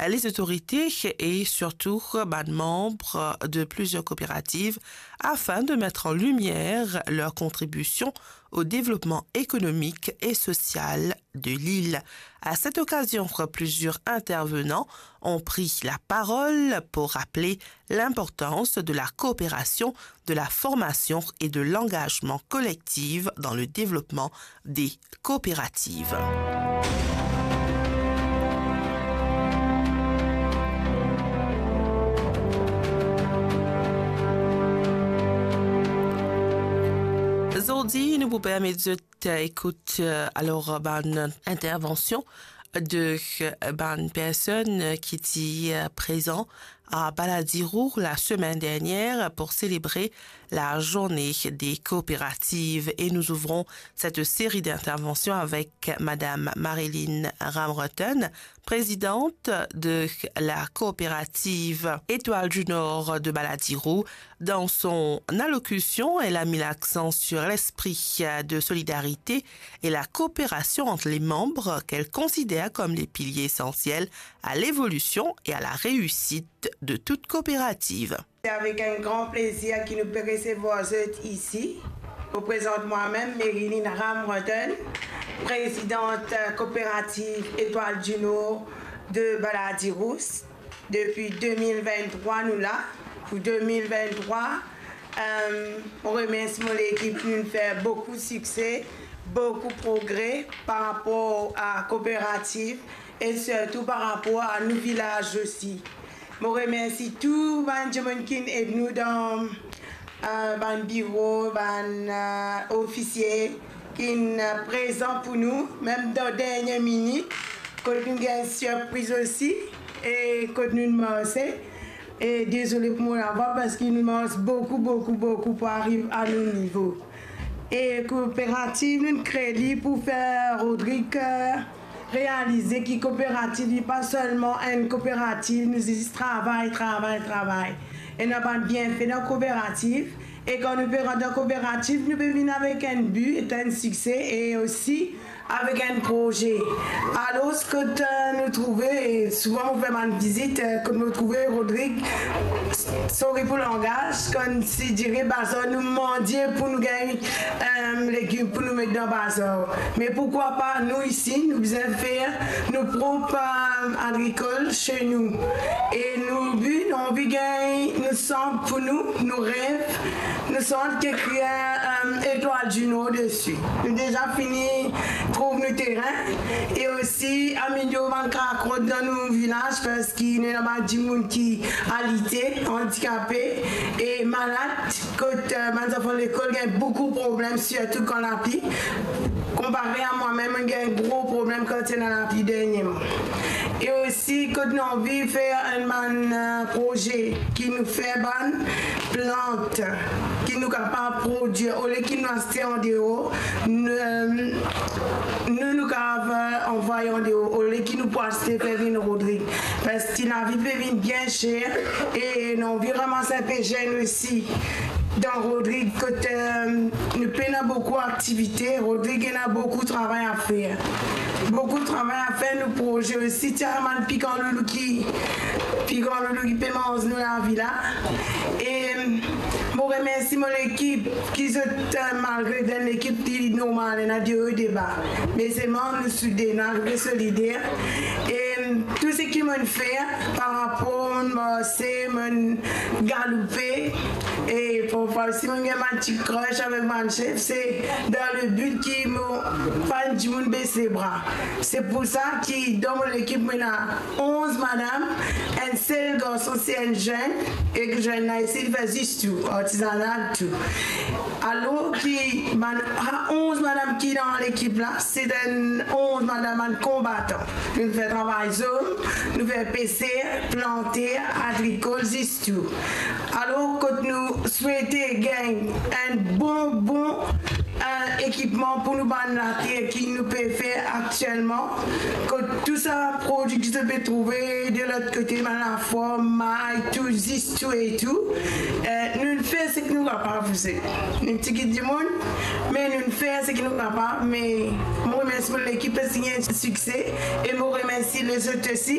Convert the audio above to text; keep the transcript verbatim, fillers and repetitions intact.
les autorités et surtout bann manm de plusieurs coopératives afin de mettre en lumière leur contribution au développement économique et social de l'île. À cette occasion, plusieurs intervenants ont pris la parole pour rappeler l'importance de la coopération, de la formation et de l'engagement collectif dans le développement des coopératives. Zordi, nou pou permet zot, euh, ekout, euh, alor, bann intervension de, euh, bann personn, euh, ki ti, euh, prezan à Baladiro la semaine dernière pour célébrer la journée des coopératives. Et nous ouvrons cette série d'interventions avec Madame Marilyn Ramrotten, présidente de la coopérative Étoile du Nord de Baladiro. Dans son allocution, elle a mis l'accent sur l'esprit de solidarité et la coopération entre les membres qu'elle considère comme les piliers essentiels à l'évolution et à la réussite de toute coopérative. C'est avec un grand plaisir que nous pouvons recevoir vous ici. Je vous présente moi-même, Marilyn Ramrotten, présidente, euh, coopérative Étoile du Nord de Baladiro. Depi de mil venn-trwa, nou la. Pou de mil venn-trwa, euh, mo remersi mo lekip, nou fer boukou sikse, boukou progre par rapor a kooperativ e sirtou par rapor a nou vilaz osi. Mo remersi tou bann dimoun ki'nn ed nou dan, euh, bann biro, bann, euh, ofisie, ki'nn, euh, prezan pou nou, mem dan dernie minit, kot nou gagn sirpriz osi, e kot nou marse. E dezole pou mo lavwa, parski nou mars boukou, boukou, boukou pou ariv a nou nivo. E kooperativ, nou kre li pou fer Rodrig, euh, realize ki kooperativ, li pa selman enn kooperativ, nou zis travay, travay, travay. Ena bann bienfe dan kooperativ, e kan nou pe rant dan kooperativ, nou pe vinn avek enn bi, enn sikse, e osi avek enn proze. Alor, kot, euh, nou trouve, e souvan mo fer bann vizit, euh, kot mo trouve Rodrig, sorry pou langaz, kan si dire bazar, nou mandie pou nou gagn, euh, legim pou nou met dan bazar. Me poukwa pa nou isi, nou bizin fer nou prop, euh, agrikol se nou. E nou bi, nou anvi gagn nou sant pou nou, nou rev, nou sant ki ekrir, euh, Étoile du Nord desi. Nou deza fini trouv nou terin e osi amelior bann kakrot dan nou vilaz, parski nou ena bann dimoun ki alite, andikape e malad, kot, euh, bann zanfan lekol gagn boukou problem, sirtou kan lapli. Konpare a mwa mem, mo gagn gro problem kan ti ena lapli dernieman. E osi, kot nou anvi fer enn bann, euh, proze ki nou fer bann plant ki nou kapav prodwir, olie ki nou aste andeor, nou, euh, nou, nou kapav, euh, anvway andeor, olie ki nou pou aste fer vinn Rodrig. Parski lavi pe vinn bien ser e nou anvi ramas inpe zenn osi dan Rodrig, kot, euh, nou pena boukou aktivite. Rodrig ena boukou travay a fer. Boukou travay a fer, nou proze osi, ti ena bann pikan loulou ki, pikan loulou ki pe manz nou lavi la. E, euh, mo remersi mo lekip, ki zot, euh, malgre dan lekip li normal, ena de o, de ba. Me selman nou soude, nou arive solider. E, euh, tou seki mo'nn fer par rapor, mo'nn marse, mo'nn galoupe, e parfwa osi mo'nn gagn bann ti crush avek bann sef, se dan le but ki mo pa enn dimoun bes lebra. Se pou sa ki dan mo lekip, mo ena onz madam, enn sel garson, se enn zenn, e zenn la isi, li fer zis tou, artizanal tou. Alor ki bann, ah, onz madam ki dan lekip la, se enn onz madam bann konbatan. Nou fer travay zom, nou fer peser, planter, agrikol, zis tou. Alor, kot nou swete gagn enn bon, bon Enn ekipman pou nou bann later ki nou pe fer aktielman, kot tou sa prodwi ki zot pe trouve de lot kote, bann lafwar, may, tou, zis tou e tou. Eh, nou fer seki nou kapav, nou ti kit dimoun, me nou fer seki nou kapav. Me mo remersi mo lekip parski ena sikse, e mo remersi lezot osi.